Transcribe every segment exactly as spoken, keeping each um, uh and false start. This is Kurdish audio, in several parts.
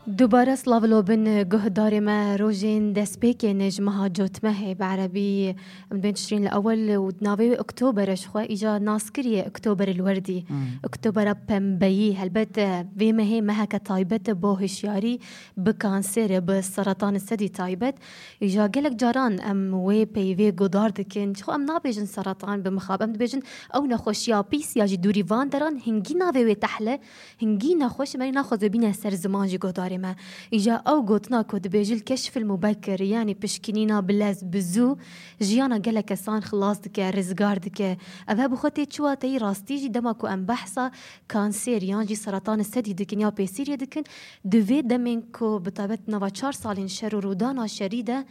Dubare silav lo bin guhdarê me, rojên destpêkê ne ji meha cotmehê bi erebî em bên tişrîn li ewel û navê wê Oktober e ji xwe îca nas kiriye Oktober li werdî. Oktobera pembeyî helbet vê mehê meheke taybet e bo hişyarî bi kanserê, bi seratan sedî taybet. Îca gelek caran em wê peyvê godar dikin. Ji xwe em nabêjin seratan bi mixab, em dibêjin ew nexweşiya pîs ya jî dûrî van deran hingî navê wê tehle. Hingî nexweş e, merî naxwaze bîne ser ziman jî guhdarê me. Îja ew gotina ku dibêjil keşfil mubekir, yanî pişkinîna bi lez, bi zû, jiyana gelek kesan xilas dike, rizgar dike. Ev he bi xwe tê çi wateyî rastî jî dema ku em behsa kanser yan jî seratan sedî dikin ya pêsîrê dikin, di vê demên ku bi taybet nava çar salên şer û rûdana şerî de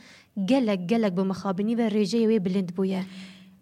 gelek, gelek bi mixabinî ve rêjeyê wê bilind bûye.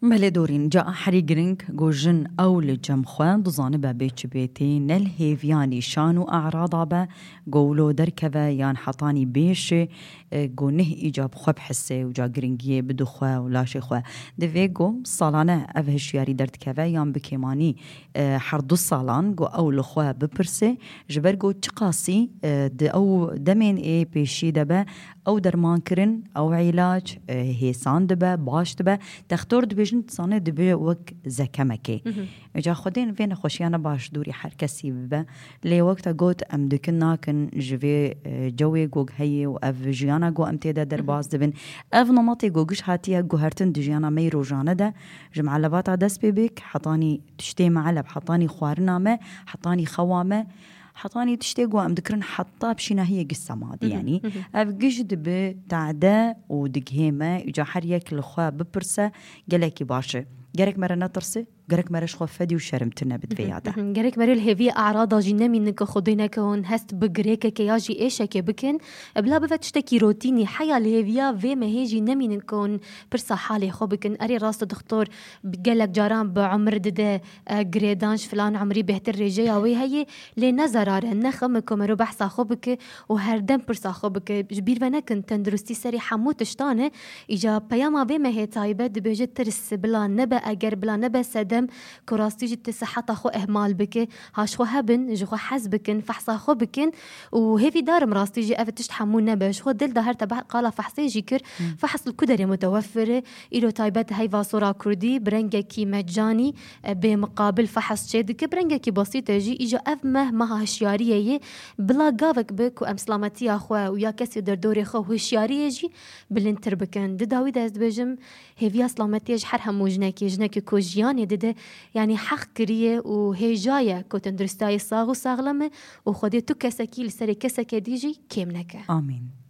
Belê dorîn, ca herî giring ku jin ew li cem xwe dizanibe bê çi bê tê, ne li hêviya nîşan û erada be, ku wilo derkeve yan hetanî bêşê, e, ku neh îca bi xwe bihise û ca giringiyê bide xwe û laşê xwe. Divê ku salane ev hişyarî derdikeve yan bi kêmanî, e, her du salan ku ew li xwe bipirse, ji ber ku çiqasî, e, di ew demên ê pêşî de be, ew derman kirin, ew îlac, e, hêsan dibe, baş dibe. Textor dibêjin, dizane dibe wek zekemekê. Îca Xwedê vê nexweşiyane baş dûrî her kesî bibe. Lê wek te got, em dikin nakin ji vê, e, cewê ku heye û ev jiyana ku em tê de derbas dibin. Ev nematê ku giş hatiye guhertin di jiyana me yê rojane de, ji meelebata dest pê bik, hetanî tiştê meeleb, hetanî xwarina me, hetanî xewa me, hetanî tiştê ku em dikirin heta pişînahiyê giş semadî, yanî ev giş dibi tade û digihê me, îca her yek li xwe bipirse, gelekî baş e. Gerek me re netirse, gerek me re ji xwe fedî û şermtir nebe di vê ya de. Gerek me re li hêviyê erada jî nemînin ku Xwedê neke hûn hest bi girêkeke ya jî êşekê bikin. Bila bive tiştekî rotînî, heya li hêviya vê mehê jî nemînin ku hûn pirsa halê xwe bikin. Erê rast e, dixtor bi gelek caran bi umir dide, e, girêdan ji filan umrî bêhtir rêjeya wê heye, lê ne zerar e, ne xem e ku mero behsa xwe bike û her dem pirsa xwe bike. Ji bîr ve nekin, tenduristî serê hemû tiştan e. Îca peyama vê mehê taybet dibêje tirs bila nebe, eger bila nebe sedem ku rastî jî tu siheta xwe ihmal bike. Ha ji xwe hebin, ji xwe hez bikin, fehsa xwe bikin û hêvîdar im rastî jî ev tişt hemû nebe. Ji xwe dil de her te be-, qala fehsê jî kir. Fehs li ku derê mutewefir e? Îro taybet heyva sora kurdî bi rengekî mecanî, e, bê miqabil fehs çê dike. Bi rengekî besît e jî. Îja ev meh meha hişyariyê ye. Bila gavek bi ku em silametiya xwe û ya kesê derdorê xwe hişyariyê jî bilindtir bikin. Di dawî de ez dibêjim, hêviya silametiyê ji her hemû jinekê, jinekê ku jiyanê dide, yanî heq kiriye û hêja ye ku tenduristiyê sax û saxlem e û Xwedê tu kesekî li serê keseke dî jî kêm neke. Amîn.